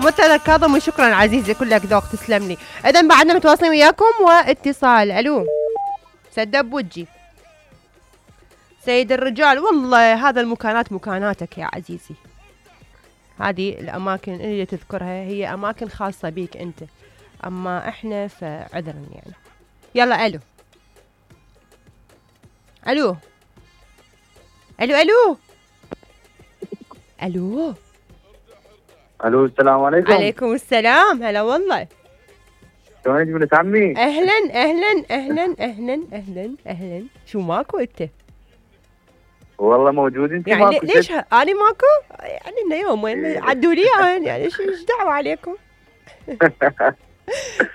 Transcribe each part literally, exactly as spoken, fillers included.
مثل كاظم وشكرا عزيزي كلك ذوق تسلم لي. اذا بعدنا متواصلين وياكم واتصال. الو سدب بوجي سيد الرجال. والله هذا المكانات مكاناتك يا عزيزي، هذه الاماكن اللي تذكرها هي اماكن خاصة بيك انت، اما احنا فعذرا يعني. يلا الو الو الو الو الو الو السلام عليكم. عليكم السلام. هلا والله. شلونك بنت عمي؟ اهلا اهلا اهلا اهلا اهلا اهلا. شو ماكو انت؟ والله موجود. انت يعني ماكو؟ ليش ه... انا ماكو؟ يعني انه يوم وين إيه. عدوا لي يعني, يعني ايش دعوه عليكم؟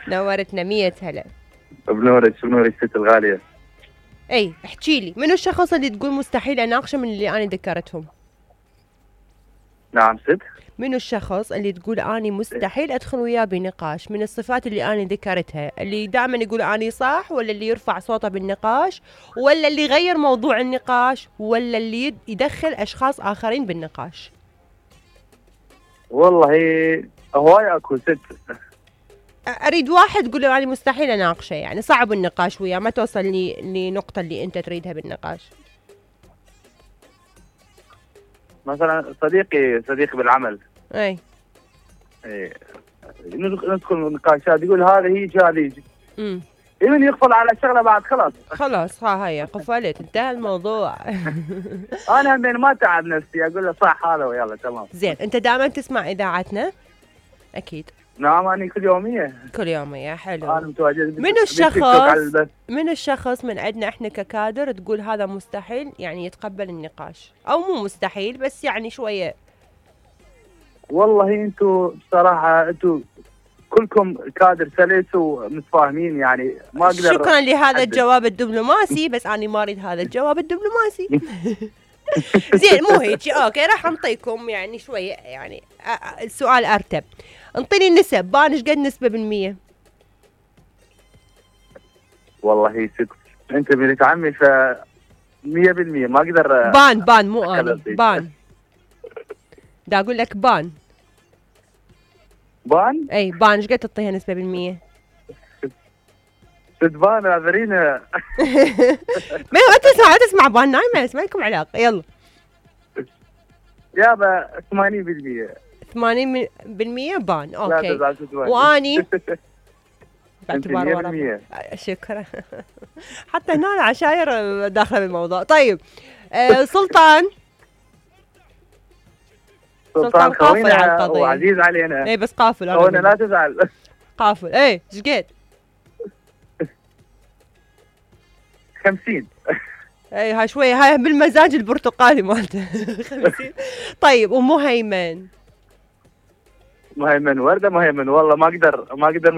نورتنا مية هلا. بنورك بنورك ست الغاليه. اي احكي لي، منو الشخص اللي تقول مستحيل اناقشه من اللي انا ذكرتهم؟ نعم ست. منو الشخص اللي تقول اني مستحيل ادخل وياه بنقاش من الصفات اللي انا ذكرتها، اللي دائما يقول اني صح، ولا اللي يرفع صوته بالنقاش، ولا اللي يغير موضوع النقاش، ولا اللي يدخل اشخاص اخرين بالنقاش؟ والله هواي اكو ست. اريد واحد تقول له اني مستحيل اناقشه، يعني صعب النقاش وياه، ما توصل لي لنقطه اللي انت تريدها بالنقاش. مثلا صديقي صديقي بالعمل. اي ايه ندخل نقاشات يقول هذا هيك هذا هيك. امم يمكن يقفل على الشغله بعد خلاص. خلاص ها هي قفلت انتهى الموضوع. انا همين ما تعب نفسي اقول له صح هذا ويلا تمام. زين انت دائما تسمع اذاعتنا؟ اكيد. نعم انا كل يوميه. كل يوميه حلو. انا متواجد. من الشخص من الشخص من عندنا احنا ككادر تقول هذا مستحيل يعني يتقبل النقاش، او مو مستحيل بس يعني شويه؟ والله انتم بصراحه انتم كلكم كادر سلس ومتفاهمين، يعني ما اقدر. شكرا لهذا الجواب الدبلوماسي، بس انا ما اريد هذا الجواب الدبلوماسي. زين مو هيك اوكي، راح نعطيكم يعني شويه يعني السؤال ارتب. انطيني النسب، بان ايش قد نسبه بالمية؟ والله ست انت بنت عمي ف مية بالمية ما اقدر. بان بان مو انا بان. دا اقول لك بان بان. اي بان ايش قد تعطيها نسبه بالمية؟ ست بان اعذرينا. ما تسمع تسمع بان نايمه، ما لكم علاقه. يلا يابا ثمانين بالمية. ثمانين بالمية بان اوكي. لا واني باعتبار ورا. شكرا. حتى هنا العشاير داخله بالموضوع. طيب آه سلطان. سلطان قافل على القضيه وعزيز علينا. اي بس قافل انا لا تزعل. قافل. اي ايش قد؟ خمسين. اي هاي شويه، هاي بالمزاج البرتقالي مالته. خمسين. طيب ومهيمن؟ مهيمن ورده مهيمن والله ما اقدر ما اقدر